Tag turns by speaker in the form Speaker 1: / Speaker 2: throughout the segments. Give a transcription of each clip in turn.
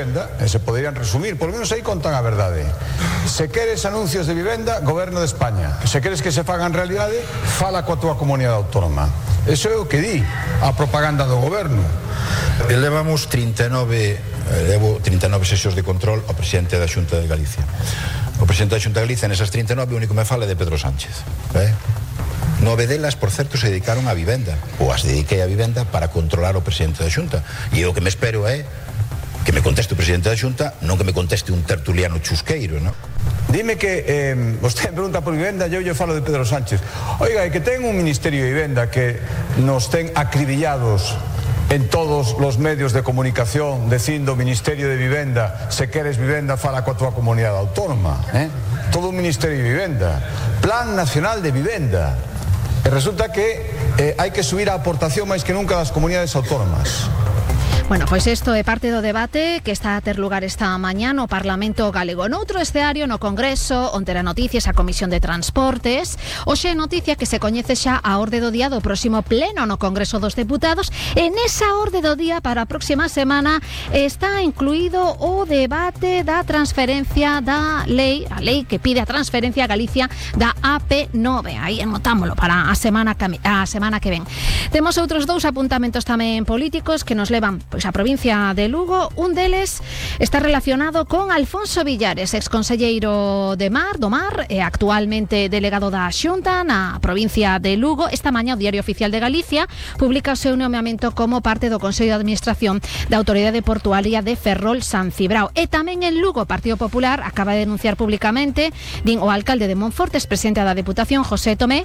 Speaker 1: vivenda, e se poderían resumir, por lo menos aí contan a verdade. Se queres anuncios de vivenda, Goberno de España. Se queres que se fagan realidade, fala coa tua comunidade autónoma. Eso é o que di a propaganda do Goberno.
Speaker 2: Levamos 39 sesións de control ao presidente da Xunta de Galicia. O presidente da Xunta de Galicia, nesas 39, o único que me fala é de Pedro Sánchez. 9 delas, por certo, se dedicaron á vivenda, ou as dediquei á vivenda para controlar o presidente da Xunta. E o que me espero é que me conteste o presidente da Xunta, non que me conteste un tertuliano chusqueiro, non?
Speaker 1: Dime que vostede me pregunta por vivenda e eu lle falo de Pedro Sánchez. Oiga, é que ten un Ministerio de Vivenda que nos ten acribillados en todos os medios de comunicación dicindo Ministerio de Vivenda, se queres vivenda fala coa tua comunidade autónoma, todo un Ministerio de Vivenda, Plan Nacional de Vivenda, e resulta que hai que subir a aportación máis que nunca das comunidades autónomas.
Speaker 3: Bueno, pois isto é parte do debate que está a ter lugar esta mañá no Parlamento Galego. Noutro escenario, no Congreso, onde era noticias a Comisión de Transportes, hoxe é noticia que se coñece xa a orde do día do próximo pleno no Congreso dos Deputados. E nesa orde do día para a próxima semana está incluído o debate da transferencia da lei, a lei que pide a transferencia a Galicia da AP9. Aí anotámolo para a semana que ven. Temos outros dous apuntamentos tamén políticos que nos levan a provincia de Lugo. Un deles está relacionado con Alfonso Villares, exconselleiro do Mar e actualmente delegado da Xunta na provincia de Lugo. Esta mañá o Diario Oficial de Galicia publica o seu nomeamento como parte do Consello de Administración da Autoridade Portuaria de Ferrol San Cibrao. E tamén en Lugo, o Partido Popular acaba de denunciar públicamente, din o alcalde de Monfortes, presidente da Deputación, José Tomé,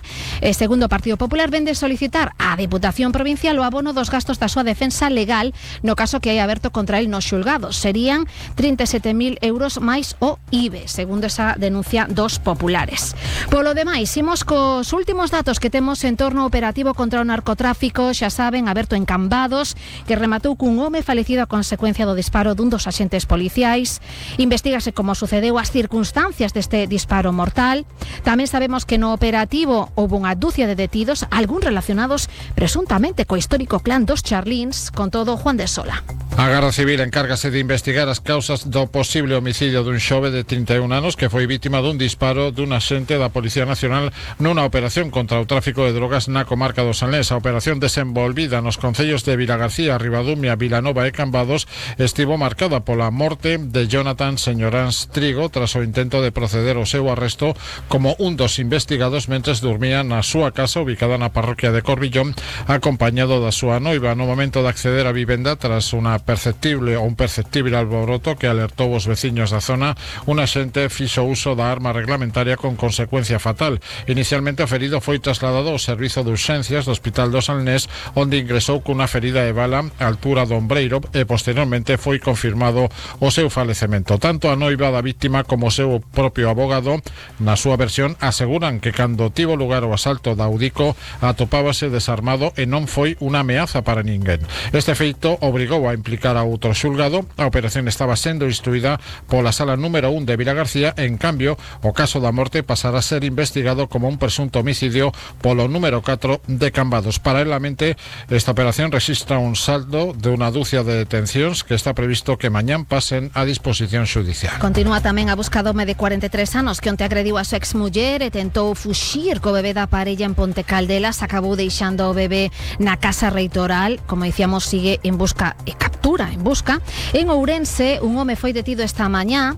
Speaker 3: segundo o Partido Popular, vende solicitar á Deputación Provincial o abono dos gastos da súa defensa legal no caso que hai aberto contra el nos xulgados. Serían 37.000 euros máis o IBE, segundo esa denuncia dos populares. Polo demais, imos cos últimos datos que temos en torno ao operativo contra o narcotráfico, xa saben, aberto en Cambados, que rematou cun home falecido a consecuencia do disparo dun dos axentes policiais. Investígase como sucedeu as circunstancias deste disparo mortal. Tamén sabemos que no operativo houve unha dúcia de detidos, algún relacionados presuntamente co histórico clan dos Charlíns. Con todo, Juan de Sola.
Speaker 4: A Garda Civil encárgase de investigar as causas do posible homicidio dun xove de 31 anos que foi vítima dun disparo dun axente da Policía Nacional nunha operación contra o tráfico de drogas na comarca do Sanlés. A operación desenvolvida nos concellos de Vilagarcía, Ribadumia, Vilanova e Cambados estivo marcada pola morte de Jonathan Señoráns Trigo tras o intento de proceder ao seu arresto como un dos investigados mentres dormía na súa casa ubicada na parroquia de Corbillón, acompañado da súa noiva. No momento de acceder a vivenda, tras un perceptible alboroto que alertou os veciños da zona, un axente fixo uso da arma reglamentaria con consecuencia fatal. Inicialmente o ferido foi trasladado ao servizo de urxencias do Hospital do Salnés, onde ingresou cunha ferida de bala á altura do ombreiro e posteriormente foi confirmado o seu falecemento. Tanto a noiva da víctima como o seu propio abogado, na súa versión, aseguran que cando tivo lugar o asalto da Audico atopábase desarmado e non foi unha ameaza para ninguén. Este feito obrigou a implicar a outro xulgado. A operación estaba sendo instruída pola sala número 1 de Vilagarcía. En cambio, o caso da morte pasará a ser investigado como un presunto homicidio polo número 4 de Cambados. Paralelamente, esta operación rexistra un saldo de unha dúcia de detencións que está previsto que mañán pasen a disposición xudicial.
Speaker 3: Continúa tamén a busca do home de 43 anos que onte agrediu a súa exmuller e tentou fuxir co bebé da parella en Ponte Caldelas. Acabou deixando o bebé na casa reitoral. Como dicíamos, sigue en busca e captura en busca. En Ourense, un home foi detido esta mañá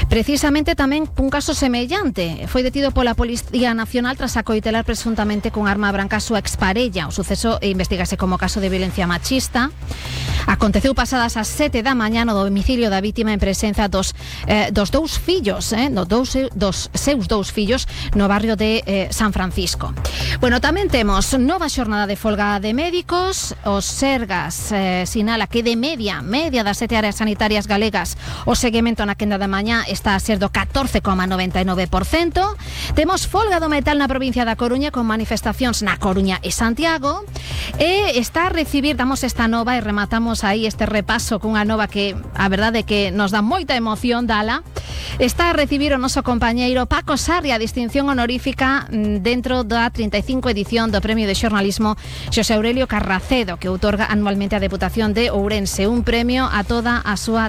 Speaker 3: precisamente tamén cun caso semellante. Foi detido pola Policía Nacional tras acoitelar presuntamente con arma branca a súa exparella. O suceso investígase como caso de violencia machista. Aconteceu pasadas as 7 da mañá no domicilio da vítima en presenza dos dous fillos, dos seus dous fillos no barrio de San Francisco. Bueno, tamén temos nova xornada de folga de médicos. Os Sergas sinala que de media das 7 áreas sanitarias galegas o seguimento na quenda de mañá está a ser do 14,99%. Temos folga do metal na provincia da Coruña con manifestacións na Coruña e Santiago. E está a recibir, damos esta nova e rematamos aí este repaso cunha nova que a verdade é que nos dá moita emoción dala. Está a recibir o noso compañeiro Paco Sarria a distinción honorífica dentro da 35 edición do Premio de Xornalismo Xosé Aurelio Carracedo, que outorga anualmente a Deputación de Ourense, un premio a toda a súa